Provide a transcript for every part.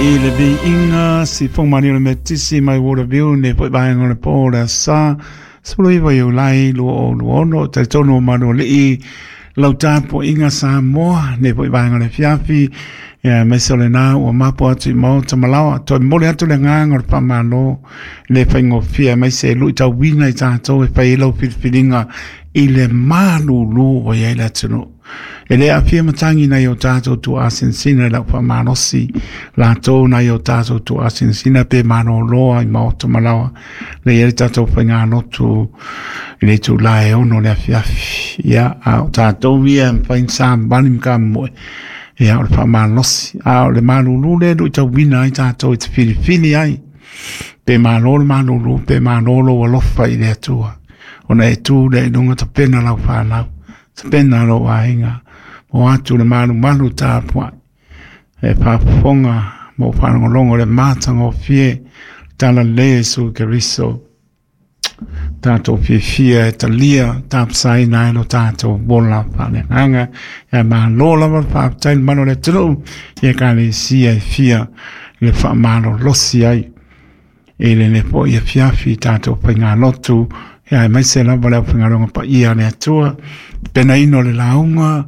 I le viiga sifoga maliu o le Metotisi mai Waterview nei foi vaega o le po o le aso Sa 19 Iulai 2026. E talitonu o Malualii lau tapuaiga Samoa nei foi vaega o le afiafi, ia aemaise o lena ua mapo atu i maota ma laoa. Toe momoli atu le agaga o le faamalo le faigofie aemaise e luitauina i tatou e fai ai lau filifiliga i le malulu ua i ai le atunuu. E le aafia matagi nai o tatou tuaasinasina i lau faamalosi, latou nai o tatou tuaasinasina pe maloloa i maota ma laoa, le i ai le tatou faigalotu i le itula e 6 le afiafi. Ia, a o tatou ia e mafai ona savali ma kamomoe, ia o le faamalosi, a o le malulu lea e luitauina ai tatou e te filifili ai, pe malo le malulu, pe malo lou alofa i le Atua, ona e tu lea i luga tapena lau fanau, tapena lou aiga, o atu le malumalu tapuai, e faafofoga ma ou faalogologo i le matagofie talalelei a Iesu Keriso. Tatou fiafia e talia tapasaina ai lo tatou ola faaleagaga. Ia malo lava le faafetai i le malu o le atunuu i ekalesia e fia le faamalolosi ai i lenei foi afiafi i tatou faigalotu, ia aemaise lava le aufaigaluega paia a le Atua, penaina o le lauga,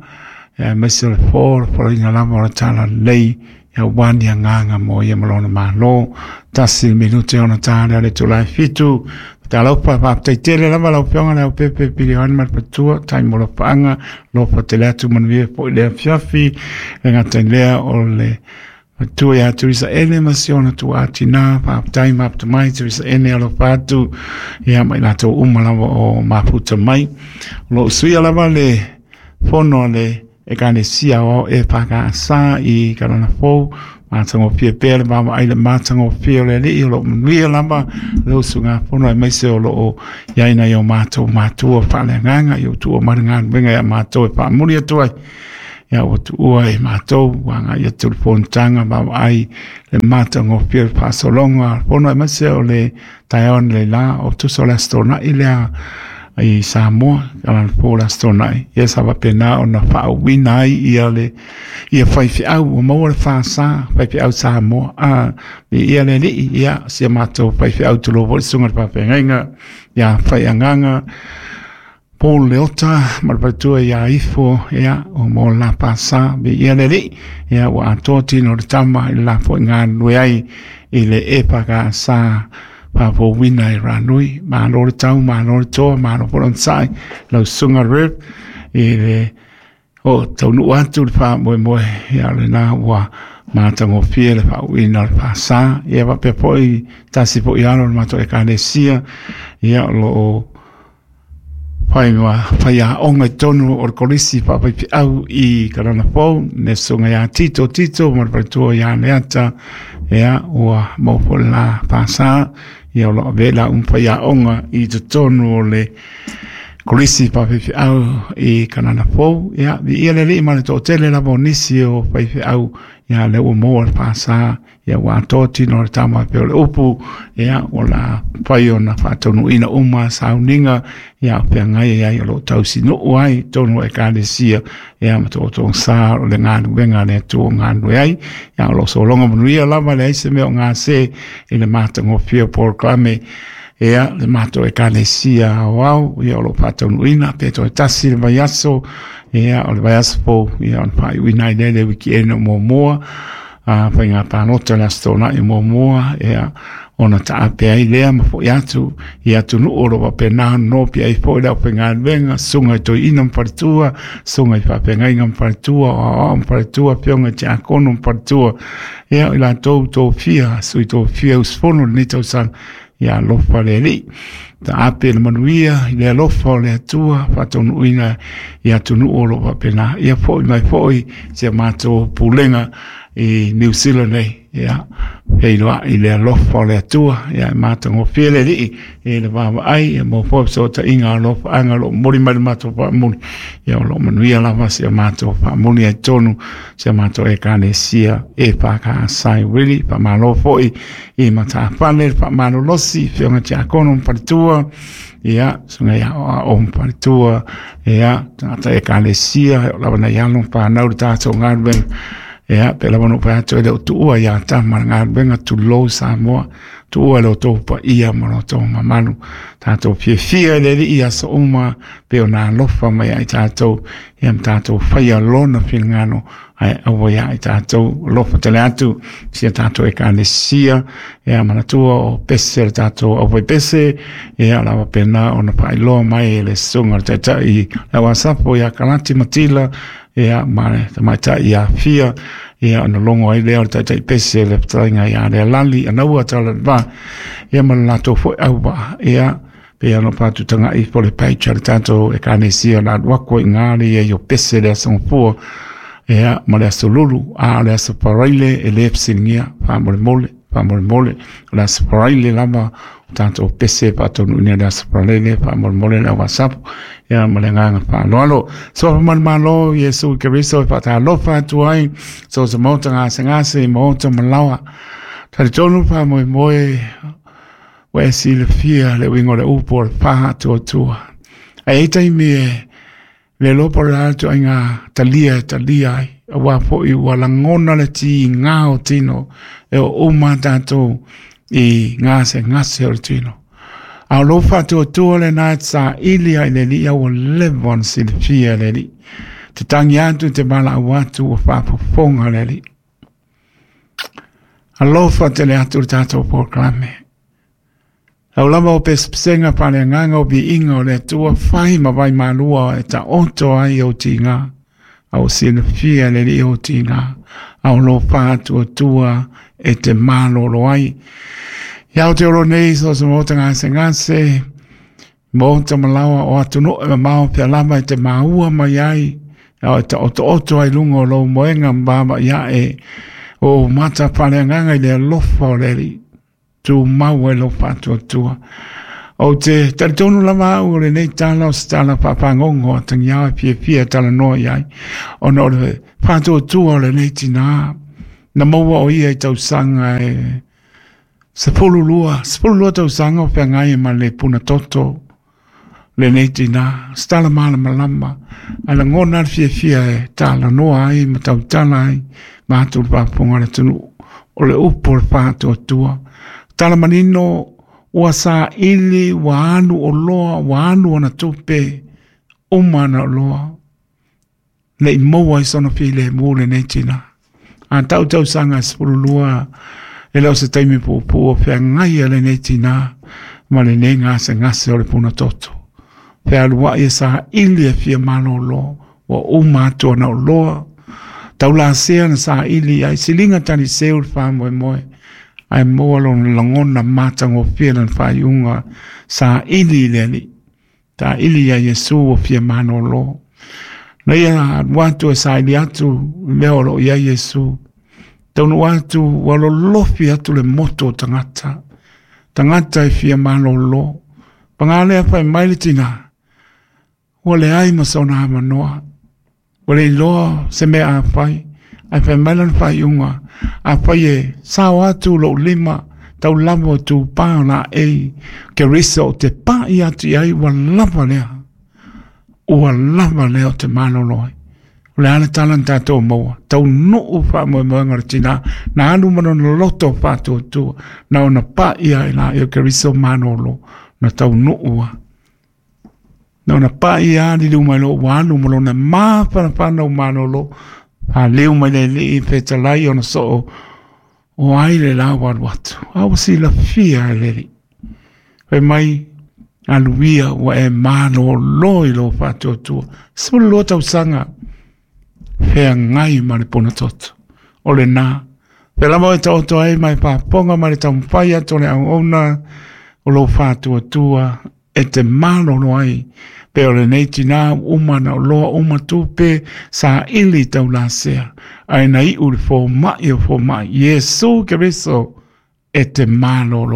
ia aemaise o le fo, le folaina lava o le talalelei, ia aua ni agaga mo ia ma lona Malo. 1 minute ona ta lea o le itula e 7. Talofa, faafetai tele lava lau Afioga Leaupepe Piliona ma le Patua, tai mo lofaaga, lofa tele atu manuia foi le afiafi, le gata i lea o le Matua ia Teresa Ene ma si ona tuaatinā, faafetai mafuta mai Teresa Ene, alofa atu ia ma i latou uma lava o mafuta mai. O lo o usuia lava le fono a le Ekalesia Aoao EFKS i Kalana Fou, matagofie pea le vaavaai i le matagofie o le Alii, o lo o manuia lava le usugafono aemaise o lo o i ai nai o matou matua faaleagaga i o tuua mai le galuega ia matou e faamuli atu ai. Ia ua tuua e matou ua agai atu le fonotaga vaavaai le matagofie o le faasologa fono aemaise o le taeao analeila o tusa o le Aso Toonai lea i Samoa, Kalana Fou le Aso Toonai, ia sa faapena ona faauuina ai ia le ia faifeau ua maua le fasa faifeau Samoa a ia le Alii, ia si a matou faifeau tulou foi le susuga i le faafeagaiga ia Faiagaga Paul Leota ma le faletua ia Ifo, ia, o mo le la fasa, viia le Alii, ia, ua atoa tino o le tama i le la foi galulue ai i le EFKS faafouina i Ranui. Malo le tau, malo le toa, malo foi le onosai, lau susuga Rev, i le o taunuu atu le faamoemoe, ia, o lena ua matagofie le faauuina o le fasa. Ia faapea foi tasi foi alo o le matou ekalesia, ia, o lo o fai ma faiaoga i totonu o le kolisi faafaifeau i Kalana Fou, le susuga ia Tito Tito ma le faletua ia Leata, ia ua maua foi le la fasa, ia o lo o avea la uma faiaoga i totonu o le kolisi faafaifeau i Kalana Fou. Ia, viia le Alii ma le toatele lava o nisi o faifeau, ia lea ua maua le fasa, ia ua atoa tino o le tama pei o le upu, ia ua la fai ona faataunuuina uma sauniga, ia o feagai ai o lo o tausinuu ai totonu o ekalesia, ia ma tootogasa o le galuega a le Atua o galulue ai, ia o lo o sologa manuia lava, leai se mea o gase i le matagofie o polokalame, ia le matou ekalesia aoao, ia o lo o faataunuuina pe toe tasi le vaiaso, ia o le vaiaso fou, ia ona faaiuina ai lea i le weekend o muamua, a faiga palota le Aso Toonai muamua, ia, ona taape ai lea ma foi atu i atunuu o lo o faapena ona nopi ai foi le aufaigaluega, susuga i toeaina ma faletua, susuga i faafeagaiga ma faletua, o aoao ma faletua, afioga i tiakono ma faletua, ia, o i latou tofia, sui tofia usufono i lenei tausaga, ia alofa le Alii. Taape le manuia i le alofa o le Atua, faataunuuina i atunuu o lo o faapena. Ia foi mai foi si a matou pulega i Niu Sila nei, ia, feiloai i le alofa o le Atua, ia e matagofie le Alii i le vaavaai, ia maua foi fesootaiga alofaaga o lo o momoli mai le matou faamuli, ia o lo o manuia lava si a matou faamuli ai totonu si a matou ekalesia EFKS i Wiri. Faamalo foi i matafale le faamalolosi afioga tiakono ma faletua, ia susuga ia aoao ma faletua, ia tagata ekalesia o lava nai alo ma fanau le tatou galuega. Ia, pe lava no pa atu e le o tuua ia tama ngā wenga tulou Samoa, tuua le o tō pa ia ma lo tō mamalu. Tātou fiafia i le alii i aso uma, pe o nā alofa mai ai tātou, ia ma tātou whaia lona finagalo, ai aua ia i tātou alofa tele atu, sia tātou ekalesia, ia manatua o pese le tātou au pese, ia lava pena ona whailoa mai e le sunga le taitai, le wasapo ia Kalati Matila, ia ma le tamaitai ia Fia, ia ona logo ai lea o le taitai pese le fetalaiga ia Lealali anaua tala le va, ia ma le latou foi auvaa, ia pe ana faatutaga'i po le page a le tatou ekalesia na alu aku ai i gā le ia i o pese le aso gafua, ia ma le aso lulu, a o le aso Faraile e lē fesiligia, faamolemole, faamolemole, o le aso Faraile lava o tatou pese faataunuuina i le aso Faraile, faamolemole le au wasapu, ia ma le agaga faaaloalo. Sofa ma le Malo Iesu Keriso e faatalofa atu ai, so se maota gasegase i maota ma laoa. Talitonu faamoemoe ua e silafia le uiga o le upu o le faatuatua. Ae ai taimi e le iloa po o le a le ituaiga talia e talia ai, aua foi ua lagona le tiga o tino e oo uma tatou i gasegase o le tino. A o lou faatuatua lena e te saili ai i le Alii, a ua leva ona silafia e le Alii. Te tangi atu, te valaau atu, ua faafofoga le Alii. Alofa tele atu le tatou polokalame. Lau lava o pesepesega faaleagaga o viiga o le Atua, fai ma vai malua e taoto ai ou tiga, a ua silafia e le Alii ou tiga, a o lou faatuatua e te malolo ai. Ia Aotearoa nei, so se maota gasegase, maota malaoa o atunuu e mamao pea lava e te maua mai ai, a e taotooto ai luga o lou moega ma vaavaai ae o mata faaleagaga i le alofa o le Alii. Tumau ai lou faatuatua. Ou te talitonu lava au o lenei tala o se tala faafagogo a tagiao e fiafia e talanoa i ai, ona o le faatuatua o lenei tinā na maua o ia i tausaga e 12, 12 tausaga o feagai ma le puna toto lenei tinā, se tala malamalama, ae lagona le fiafia e talanoa ai ma tautala ai ma atu le faafofoga a le atunuu. O le upu o le faatuatua. Tala manino, ua saili, ua alu oloa, ua alu ona tupe, uma ana oloa, ne i maua ai sona filemu lenei tinā. A tau tausaga e 12, e le o se taimi puupuu o feagai a lenei tinā ma lenei gasegase o le puna toto. Fealuai e saili e fia malolo, ua uma atu ana oloa, taulasea na saili ai, siliga taliseu le faamoemoe, ae maua lona lagona matagofie lana faaiuga saili i le Alii. Taili ia Iesu ua fia malolo. Na ia alu atu e saili atu i mea o lo o i ai Iesu. Taunuu atu ua lolofi atu le moto o tagata. Tagata e fia malolo. Paga lea fai mai le tinā, ua leai ma sona avanoa. Ua le iloa se mea a fai, ae fai mai lana faaiuga, afai e sao atu lou lima, tau lava o tupā o laei, Keriso ou te paʻi atu i ai, ua lava lea. Ua lava lea o te malolo ai. O le a le tala na tatou maua, taunuu faamoemoega o le tinā, na alu ma lona loto faatuatua, na ona paʻi ai laei o Keriso malolo, na taunuu a. Na ona paʻi a liliu mai loa ua alu ma lona mafanafana ua malolo, faliu mai le alii fetalai ona soo, o ai le la ua alu atu, a ua silafia e le alii. Fai mai, alu ia ua e malolo i lou faatuatua. 12 tausaga, feagai ma le puna toto. O lena, pea lava e taoto ai ma e faafofoga ma le taumafai atu o le auauna o lou faatuatua e te malolo ai, pe o lenei tinā ua uma ona oloa uma tupe saili taulasea, ae na iu le fomai o fomai, Iesu Keriso e te malolo.